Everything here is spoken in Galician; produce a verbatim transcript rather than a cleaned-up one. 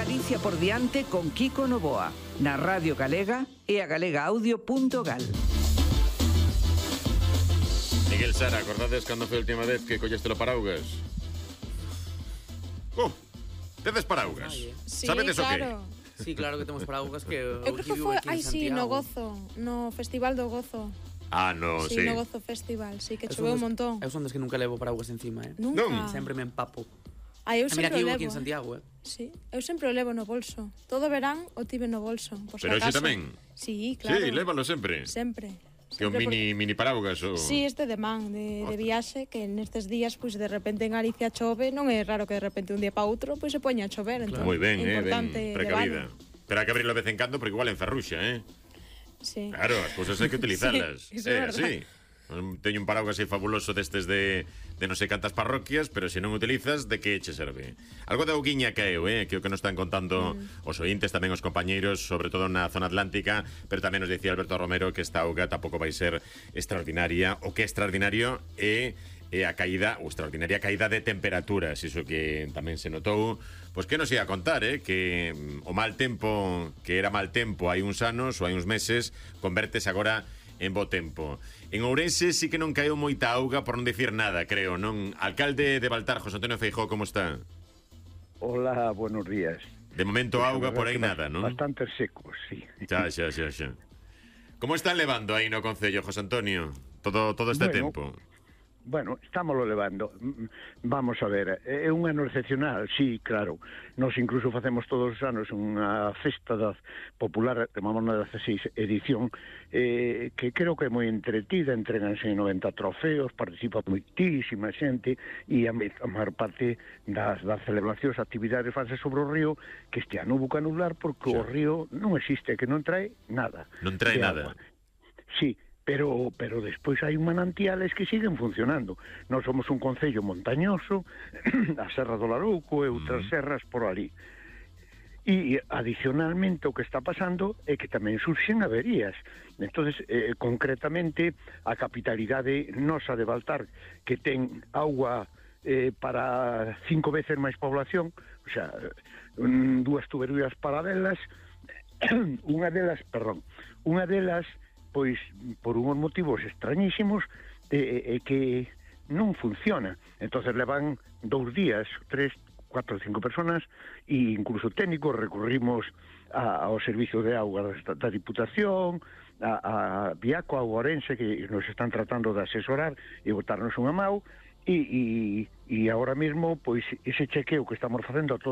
Galicia por diante con Kiko Novoa, na Radio Galega e a galegaaudio punto gal. Miguel Sara, acordades cando foi a última vez que colleste o paraugas? Oh, tedes paraugas? Sí, Sabedes claro. o que? Sí, claro que temos paraugas que Eu creo que foi, ai sí, no Gozo, no Festival do Gozo. Ah, no, sí. Sí, no Gozo Festival, sí, que choveu un montón. Eu son des que nunca levo paraugas encima, eh? Nunca. Non. Sempre me empapo. Ah, eu A sempre mira que o vivo levo. aquí en Santiago, eh? Sí, eu sempre o levo no bolso. Todo verán o tive no bolso, por si Pero acaso. ese tamén? Sí, claro. Sí, lévalo sempre. Sempre. Que o Sempre mini, mini paraugas o... Sí, este de man, de, de viaxe, que nestes días, pois, de repente en Galicia chove, non é raro que de repente un día para outro, pois, se poña a chover, entón, Moi ben, é eh, ben importante precavida. levalo. Pero hai que abrirlo de vez en cando porque igual enferruxa, eh? Sí. Claro, as cousas hai que utilizalas. Sí, iso é eh, verdad. sí. Teño un paraugas aí fabuloso destes de, de non sei cantas parroquias, pero se non utilizas, de que che serve? Algo de auguiña caeu, eh? Que o que nos están contando mm. os ointes, tamén os compañeiros, sobre todo na zona atlántica, pero tamén nos dicía Alberto Romero que esta auga tampouco vai ser extraordinaria. O que é extraordinario é e a caída, ou extraordinaria caída de temperaturas, iso que tamén se notou. Pois que nos ia a contar, eh? Que o mal tempo, que era mal tempo hai uns anos ou hai uns meses, convertese agora en bo tempo. En Ourense sí que non caeu moita auga, por non dicir nada, creo, non? Alcalde de Baltar, José Antonio Feijóo, como está? Hola, buenos días. De momento Pues, auga por aí bast- nada, non? Bastante secos, sí. Xa, xa, xa, xa. Como están levando aí no Concello, José Antonio? Todo, todo este Bueno, tempo. Bueno, estámoslo levando. Mm, Vamos a ver, é un ano excepcional, sí, claro. Nos incluso facemos todos os anos unha festa da popular, chamamos na dezasseis edición, eh, que creo que é moi entretida, entreganse noventa trofeos, participa moitísima xente, e a, me- a maior parte das, das celebracións, actividades fanse sobre o río, que este ano hubo que anular porque o Xa. río non existe, que non trae nada. Non trae de nada. agua. Sí, pero pero despois hai manantiales que siguen funcionando. Nós somos un concello montañoso, a Serra do Larouco e outras Mm. serras por ali. E adicionalmente o que está pasando é que tamén surxen averías. Entonces, eh, concretamente, a capitalidade nosa de Baltar, que ten auga eh, para cinco veces máis población, o sea, un, dúas tuberías paralelas, unha delas, perdón, unha delas pois por unhos motivos extrañísimos é eh, eh, que non funciona. Entonces levan dous días, tres, cuatro, cinco personas e incluso técnicos recurrimos a, ao servicio de auga da, da Diputación, a, a Biaco, a Ourense, que nos están tratando de asesorar e botarnos unha mau, e, e, e agora mesmo pois ese chequeo que estamos facendo a todos